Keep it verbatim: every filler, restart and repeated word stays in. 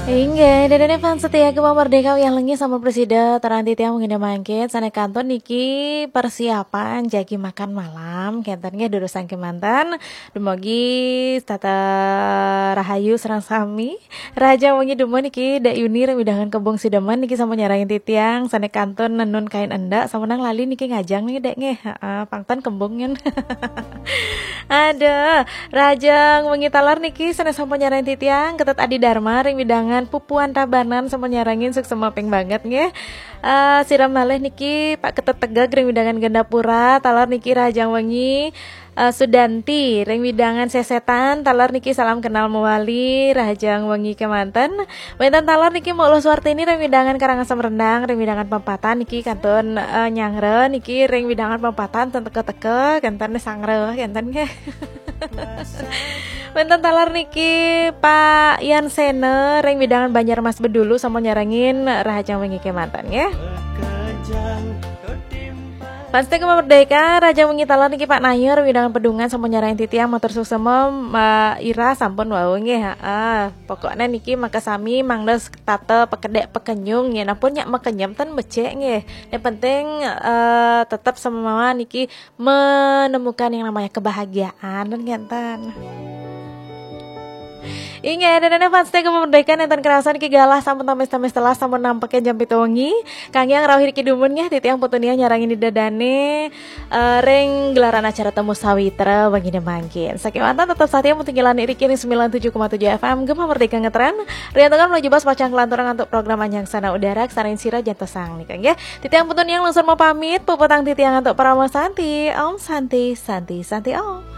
Inggih, dene fans setia Gema Merdeka, uyah lengi sampun prasida, taran titiang wengi mangkin sané kantun niki persiapan jagi makan malam, kénten nggih durusang kémanten. Dumugi tata rahayu sareng sami. Rahajeng wengi dumun niki Dek Yuni ring wewidangan Kebung Sidemen niki sampun nyarengin titiang, sané kantun nenun kain endak, sampun lali niki ngajeng niki Dek nggih. Heeh, pangten kembung nyen. Aduh, rahajeng wengi taler niki sané sampun nyarengin titiang, Ketut Adi Dharma ring wewidangan Pupuan Tabanan sampun nyarengin, suksma ping banget nggih. Eh, sira malih niki Pak Ketut Tegeg ring wewidangan Gandapura, taler niki rahajeng wengi. Eh, Sudanti ring wewidangan Sesetan, taler niki salam kenal mawali, rahajeng wengi kémanten. Wénten taler niki Mbok Luh Suartini ring wewidangan Karangasem Rendang, ring wewidangan Pempatan niki kantun, eh, nyanggra niki ring wewidangan Pempatan ten teka-teka, kénten sanggra, kénten nggih. Wénten taler niki Pak Yan Sena ring wewidangan Banjarmas Bedulu sampun nyarengin, rahajeng wengi kémanten nggih. Fans setia Gema Merdeka, rahajeng wengi taler niki Pak Nayo ring wewidangan Pedungan sampun nyarengin titiang, matur suksma, Mbak Ira sampun wau nggih, heeh. Pokoknya niki makasami mangda tata pakedek pakenyung nggih. Nampun nyak makenyem ten becik nggih. Yang penting, eh, tetap samawa niki menemukan yang namanya kebahagiaan, kan ngénten. Inggih, dene fans setia Gema Merdeka, nénten kerasa niki galah sampun tamis-tamis telas, sampun nampek jam pitu wengi. Kangge rauh niki dumun nggih, titiang Putu Nia nyarengin ida dane, eh, ring gelaran acara Temu Sawitra wengi mangkin. Sakémanten tetep setia mutunggilan niki ring sembilan tujuh koma tujuh F M Gema Merdeka ngetren. Riantukan menuju bas pacang kelanturan untuk program Anjang Sana Udara, sareng sira jantosang nika nggih. Titiang Putu Nia langsung mau pamit, puputang titiang untuk Parama Santi. Om Santi, Santi, Santi Om.